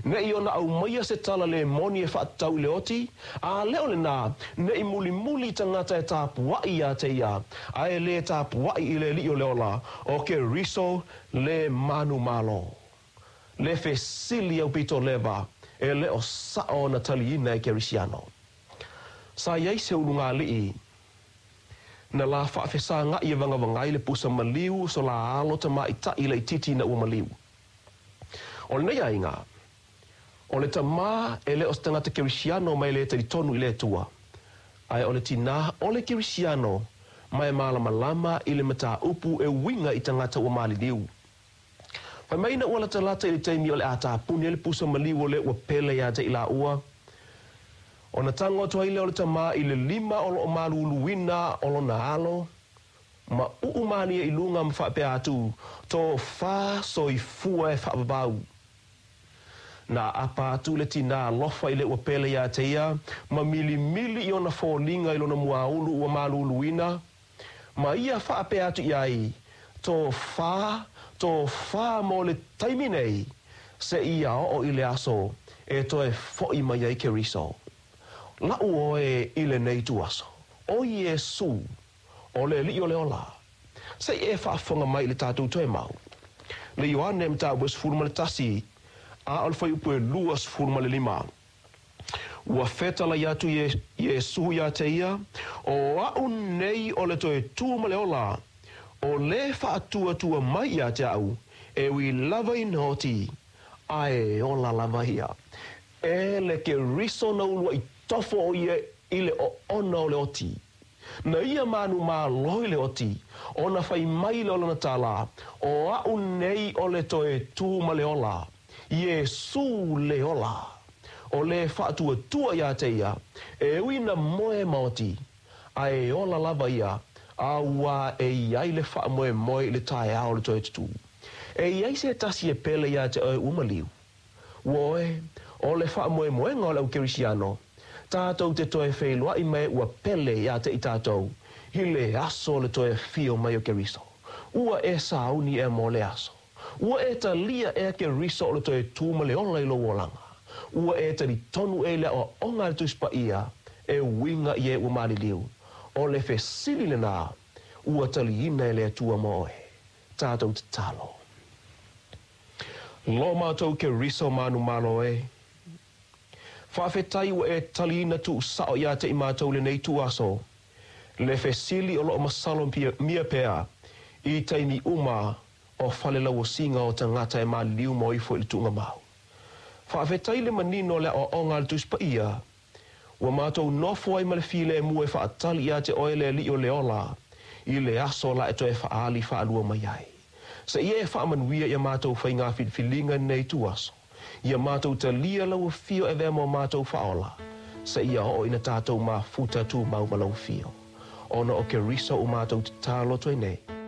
Ne i ona aumaia se tala le moni e faatatau i le oti, a le o lenā, ne i mulimuli tagata e tapuaʻi iā te ia, ae lē tapuaʻi i le Alii o le ola, o Keriso le manumalo. Le fesili aupito leva, e le o saʻo ona taliina e Kerisiano. Sa i ai se ulugalii na la faafesagaʻi e vagavagai le pusa maliu o so la alo tamaʻitaʻi laitiiti ina ua maliu. O lenei aiga, o le tamā e le o se tagata Kerisiano ma e le talitonu i le Atua, ae o le tinā o le Kerisiano ma e malamalama i le mataupu e uiga i tagata ua maliliu. Fai mai ina ua latalata i le taimi o le a tapuni ai le pusa maliu o le ua pele iā te i lāua, ona tago atu ai lea o le tamā i le lima o lo o maluluina o lona alo, ma uu mālie i luga ma faapea atu, Tofā soifua e faavavau. Na aapa atu le tinā alofa i le ua pele iā te ia, ma milimili i ona foliga i lona muaulu ua maluluina, ma ia faapea atu i ai, Tofā, tofā mo le taimi nei, seia oo i le aso e toe foʻi mai ai Keriso. Laʻu oe i lenei ituaso, o Iesū, o le Alii o le ola. Se i e faafofoga mai i le tatou toe mau. Le Ioane mataupu e 11, a o le fuaiupu e 25. Ua fetalai atu Iesū iā te ia, O aʻu nei o le toe tū ma le ola, o le faatuatua mai iā te aʻu, e ui lava ina oti, a e ola lava ia. E le Keriso na uluaʻi tofo o ia i le oona o le oti. Na ia manumalo i le oti, ona fai mai lea o lana tala, O aʻu nei o le toe tū ma le ola, Iesū le ola. O le faatuatua iā te ia, e ui ina moe ma oti, a e ola lava ia, a ua e i ai le faamoemoe i le taeao o le toe tutū. E i ai se tasi e pele iā te oe ua maliu. Ua oe, o le faamoemoega o le au Kerisiano, tatou te toe feiloaʻi ma e ua pele iā te i tatou, i le aso o le toe afio mai o Keriso. Ua e sauni ea mo lea aso. Ua e talia ea Keriso o le toe tū ma le ola i lou olaga. Ua e talitonu ea i le aoaoga a le Tusi Paia e uiga i e ua maliliu. O le fesili lenā, ua taliina e le Atua mo oe. Tatou tatalo. Lo matou Keriso manumalo e. Faafetai ua e taliina tuusao iā te i matou lenei ituaso. Le fesili o loo masalo mia pea i taimi uma o fale lauosiga o tagata e maliliu ma o ifo i le tuugamau. Faafetai le manino o le aoaoga a le Tusi Paia Ua matou nofo ai ma le filemu e faatali iā te oe le Alii o le ola i le aso la e toe faaali faalua mai ai. Seia e faamanuia i a matou faiga filifiliga i lenei ituaso. Ia matou talia lau afio e avea mo matou faaola, seia oo ina tatou mafuta tumau ma lau afio. Ona o Keriso ua matou tatalo atu ai nei.